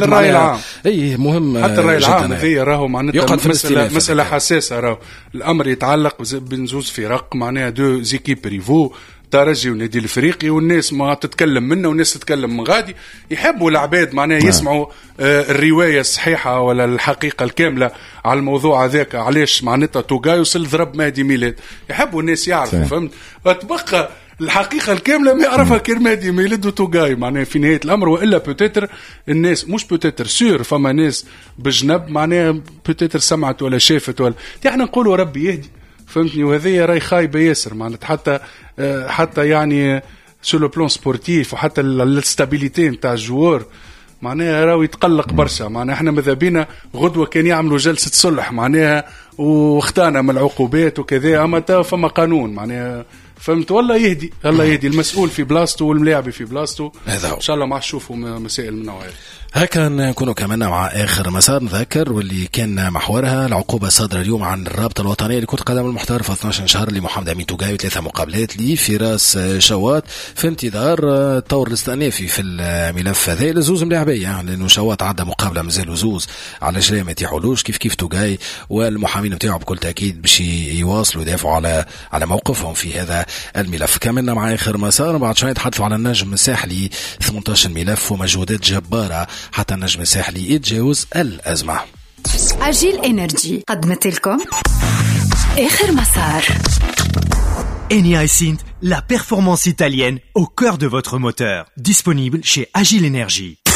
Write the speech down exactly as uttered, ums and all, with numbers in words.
الراي العام. اي مهم. حتى الراي العام هذه راهو معناتها مساله مساله حساسه، راهو الامر يتعلق بين زوز فرق، معناها deux équipes rivaux، ترجي والنادي الافريقي، والناس ما تتكلم منا والناس تتكلم من غادي، يحبوا العباد معناها نعم. يسمعوا آه، الرواية الصحيحة ولا الحقيقة الكاملة على الموضوع هذاك، علاش معناتها توغاي وصل ضرب مهدي ميلاد، يحبوا الناس يعرفوا، فهمت؟ تبقى الحقيقة الكاملة ما يعرفها كان مهدي ميلاد وتوغاي معناها في نهاية الامر، والا peut-être الناس مش peut-être sûr فما ناس بجنب معناها peut-être سمعت ولا شافت ولا، احنا نقولوا ربي يهدي، فهمتني؟ وهذه راي خايبة ياسر معناتها، حتى آه، حتى يعني sur le plan sportif وحتى ال stabilité نتاع ال joueur معناها راهو يتقلق برشا. معناها احنا ماذا بينا غدوه كان يعملوا جلسه صلح معناها واختانا من العقوبات وكذا، اما تا فما قانون معناها، فهمت؟ والله يهدي، الله يهدي، المسؤول في بلاصته والملاعبي في بلاصته. هذا هو. ان شاء الله ما نشوفوا مسائل من النوع هذا. هكا نكونوا كمان مع اخر مسار، نذكر واللي كان محورها العقوبة الصادرة اليوم عن الرابطة الوطنية لكرة القدم المحترفه، اثناش شهر لمحمد امين توغاي وثلاثة مقابلات لفراس شواط، في انتظار الطور الاستئنافي في الملف هذا لزوز ملاعبيه، لانه شواط عدى مقابله، مازالوا زوز على جري ما يتيحولوش، كيف كيف توغاي، والمحامين نتاعو بكل تاكيد باش يواصلوا يدافعوا على على موقفهم في هذا الملف. كملنا مع اخر مسار، بعد شوي نتحدثوا على النجم الساحلي، ثمنطاش ملف ومجهودات جبارة حتى النجم الساحلي يتجاوز الأزمة. Agil Energy قدمت لكم آخر مسار. Eni iSINT, la performance italienne au cœur de votre moteur. Disponible chez Agil Energy.